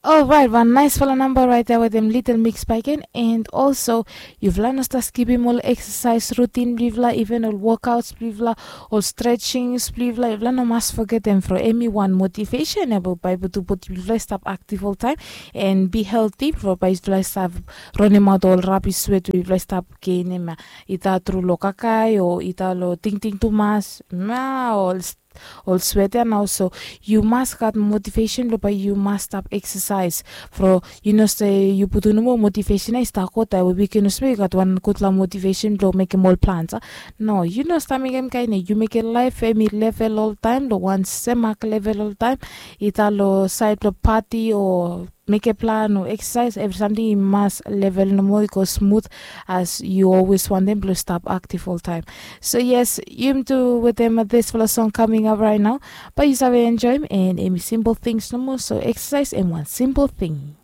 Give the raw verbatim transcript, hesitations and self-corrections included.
Orait, wan naisfala namba rait ya wetem Little Mix Baiken. And also, yufala no stap skipim ol eksasaes rutin blong yufala, even ol wokauts blong yufala, ol stretsings blong yufala. Yufala no mas fogetem from em i wan motivesen ya blong bae putum bodi blong yufala i stap aktiv oltaem and bi helti, from bae yufala i stap ronimaot ol rabis swet we yufala i stap genim ya, ita tru long kakae o ita long tingting tumas, ma ol ol swet ya nao. So yu mas gat motivesen blong bae yu mas stap eksasaes. From yu no se yu putum nomo motivesen ya i stap go taem we wiken olsem we yu gat wan gudfala motivesen blong mekem ol plans a. No, yu no stap mekem kaen ya. Yu mekem laef em i level oltaem, long wan semak level oltaem, ita long saed blong pati o mekem plan o eksasaes, evri samting i mas level nomo, i go smut as yu olwes wantem blong stap aktiv oltaem. So yes, yumi tu wetem disfala song kaming ap rait nao, bae yu save enjoem, and em i simpol tings nomo. So eksasaes em wan simpol ting.